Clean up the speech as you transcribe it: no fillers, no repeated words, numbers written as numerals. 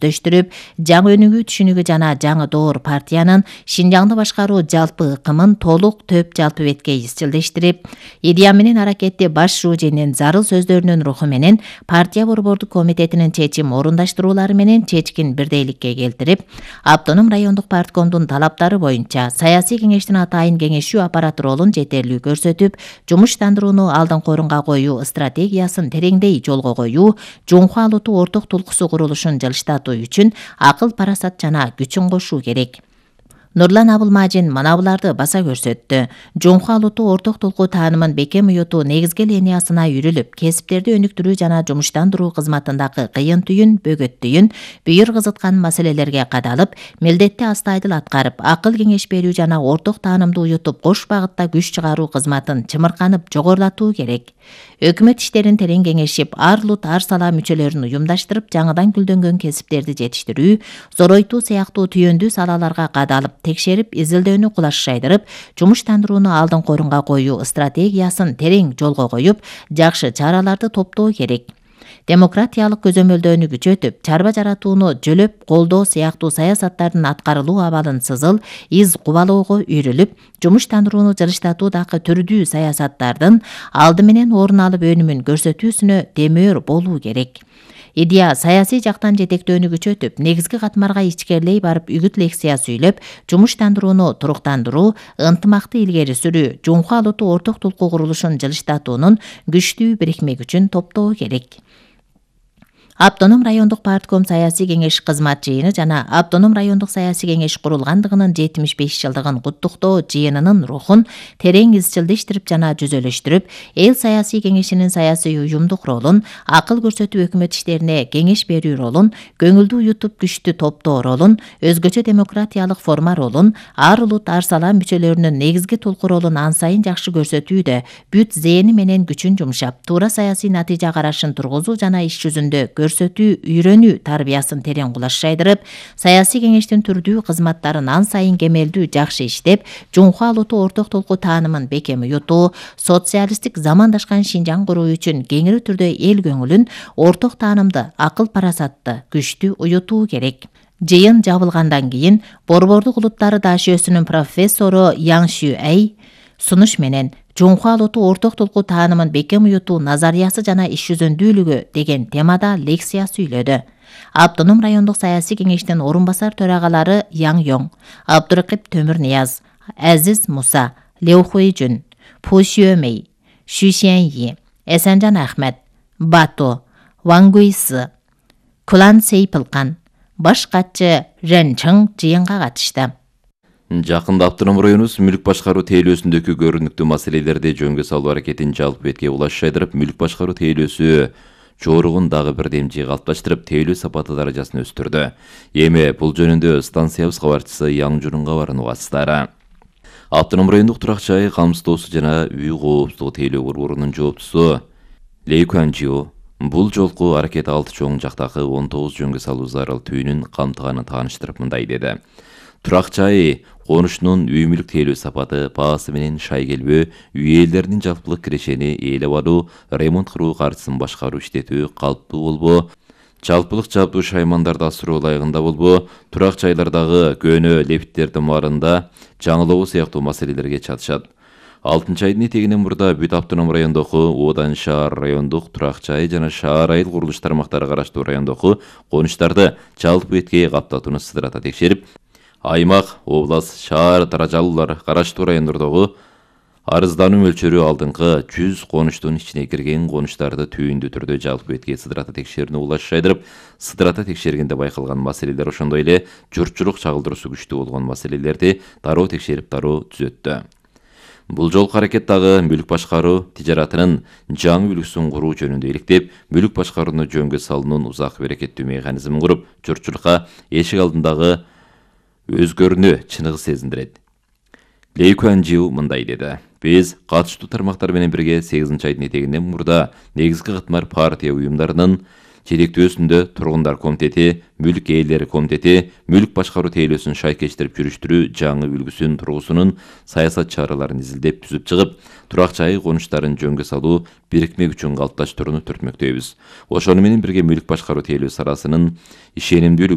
дөштүрүп, жаңы өнүгүү түшүнүгү жана жаңы доор партиянын Шинжаңды башкаруу жалпы ыкымын толук төп жалпы бетке изчилдештирип, идея менен аракетти баш шууженин зарыл сөздөрүнүн руху менен партия борбордук комитетинин чечим орундаштыруулары менен чечкин бирдейликке келтирип, автоном райондук парткомдун талаптары боюнча саясий кеңештин атайын кеңешүү аппараты ролун жетерлүү көрсөтүп, жумуштандырууну алдыңкы орунга коюу стратегиясын тереңдей жолго коюу, Жумху алуту орток тулкусу курулушун жылыштатуу үчүн акыл парасат жана күчүн кошуу керек. Нурлан Абылмажин мына буларды баса көрсөттү. Жумху алуту орток толку таанымын бекем уютуу негизги линиясына үрүлүп, кесиптерди өнүктүрүү жана жумуштандыруу кызматындагы кыйын түйүн, бөгөттүйүн, бүйүр кызыткан маселелерге кадалып, милдетти астайдыл аткарып, акыл кеңеш берүү жана орток таанымды уютуп, кош багытта күч чыгаруу кызматын чымырканып жогорулатуу керек. Өкмөт иштерин терең кеңешип, ар улут ар сала мүчөлөрүн уюмдаштырып, жаңыдан гүлдөнгөн кесиптерди жетиштирүү, зоройтуу сыяктуу түйөндүү салаларга кадалып, текшерип, изилдөөнү кулаш шайдырып, жумуштандырууну алдыңкы орунга коюу стратегиясын терең жолго коюп, жакшы чараларды топтоо керек. Демократиялык көзөмөлдөөнү күчөтүп, чарба жаратууну жөлөп колдоо сыяктуу саясаттардын аткарылуу абалын сызыл, из кубалоого үйрүлүп, жумуштандырууну жылыштатуудагы түрдүү саясаттардын алды менен орун алып өнүмүн көрсөтүүсүнө демөөр болуу керек. Идея саясий жактан жетектөөнү күчөтүп, негизги катмарга ичкерлей барып үгүт лекция сүйлөп, жумуштандырууну туруктандыруу, ынтымакты илгери сүрүү, Жумху алуту орток толку курулушун жылыштатуунун күчтүү бирикме күчүн топтоо керек. Автоном райондук партком саясий кеңеш кызмат жыйыны жана Автоном райондук саясий кеңеш курулгандыгынын 75 жылдыгын куттуктоо жыйынынын рухун терең изчилдештирип жана жүзөлөштүрүп, эл саясий кеңешинин саясий уюмдук ролун, акыл көрсөтүп өкмөт иштерине кеңеш берүү ролун, көңүлдү уютуп күчтү топтоо ролун, өзгөчө демократиялык форма ролун, ар улут ар сала мүчөлөрүнүн негизги толку ролун ан сайын жакшы көрсөтүүдө, бүт зээни менен күчүн жумшап, туура саясий натыйжа карашын тургузуу жана иш жүзүндө көрсөтүү, үйрөнүү тарбиясын терең кулаш шайдырып, саясий кеңештин түрдүү кызматтарын ан сайын кемелдүү жакшы иштеп, Жумху алуту орток толку таанымын бекем уютуу, социалисттик замандашкан Шинжаң куруу үчүн кеңири түрдө эл көңүлүн, орток таанымды, акыл парасатты күчтүү уютуу керек. Жыйын жабылгандан кийин борбордук улуттары ДАШОсунун профессору Яң Шү Әй сунуш менен Жумху алуту орток толку таанымын бекем уютуу назариясы жана иш жүзүндүүлүгү деген темада лекция сүйлөдү. Автоном райондук саясий кеңештин орун басар төрагалары Яң Йоң, Абдуракип Төмүрнияз, Азиз Муса, Леу Хуйжун, Пу Шүөмей, Шү Шиэньи, Эсенжан Ахмет, Бату, Ван Гуйсы, Кулан Сейпилкан, баш катчы Рен Чың жыйынга катышты. Жакында Автоном районубуз мүлк башкаруу тейлөөсүндөгү көрүнүктүү маселелерди жөнгө салуу аракетин жалпы бетке улаш шайдырып, мүлк башкаруу тейлөөсү жоругун дагы бир демчи калыпташтырып, тейлөө сапаты даражасын өстүрдү. Эми бул жөнүндө станциябыз кабарчысы Яң Журун кабарын угасыздар. Автоном райондук турак жай камсыздоосу жана үй коопсуздугу тейлөө борборунун жооптусу Лей Куанжиу бул жолку аракет 6 чоң жактагы 19 жөнгө салуу зарыл түйүнүн камтыганын тааныштырып мындай деди. Турак жай конушунун үй мүлк тейлөө сапаты, баасы менен шай келбөө, үй ээлдеринин жалпылык кирешени ээлеп алуу, ремонт кыруу каржысын башкаруу иштетүү калыптуу болбоо, жалпылык жабдуу шаймандарды асыруу ылайыгында болбоо, турак жайлардагы көөнө лефттердин баарында жаңылоо сыяктуу маселелерге чатышат. 6-айдын этегинен мурда бүт Автоном райондогу Одан шаар райондук турак жай жана шаар айыл курулуш тармактары караштуу райондогу конуштарды жалпы бетке каптатууну сыдырата текшерип, аймак, область, шаар даражалуулар караштуу райондордогу арыздануу мөлчөрү алдыңкы 100 конуштун ичине кирген конуштарды түйүндүү түрдө жалпы бетке сыдырата текшерүүнү улаш шайдырып, сыдырата текшергенде байкалган маселелер ошондой эле журтчулук чагылдыруусу күчтүү болгон маселелерди дароо текшерип дароо түзөттү. Бул жолку аракет дагы мүлк башкаруу тижаратынын жаңы үлгүсүн куруу жөнүндө иликтеп, мүлк башкарууну жөнгө салуунун узак берекеттүү механизмин куруп, журтчулукка эшик алдындагы өзгөрүүнү чыныгы сезиндирет. Лей Куанжиу мындай деди. Биз катыштуу тармактар менен бирге 8-айдын этегинен мурда негизги катмар партия уюмдарынын жетектөөсүндө тургундар комитети, мүлк ээлери комитети, мүлк башкаруу тейлөөсүн шайкештирип жүрүштүрүү жаңы үлгүсүн тургусунун саясат чараларын изилдеп түзүп чыгып, турак жай конуштарын жөнгө салуу бирикме күчүн калыпташтырууну түртмөктөйбүз. Ошону менен бирге мүлк башкаруу тейлөө саласынын ишенимдүүлүгү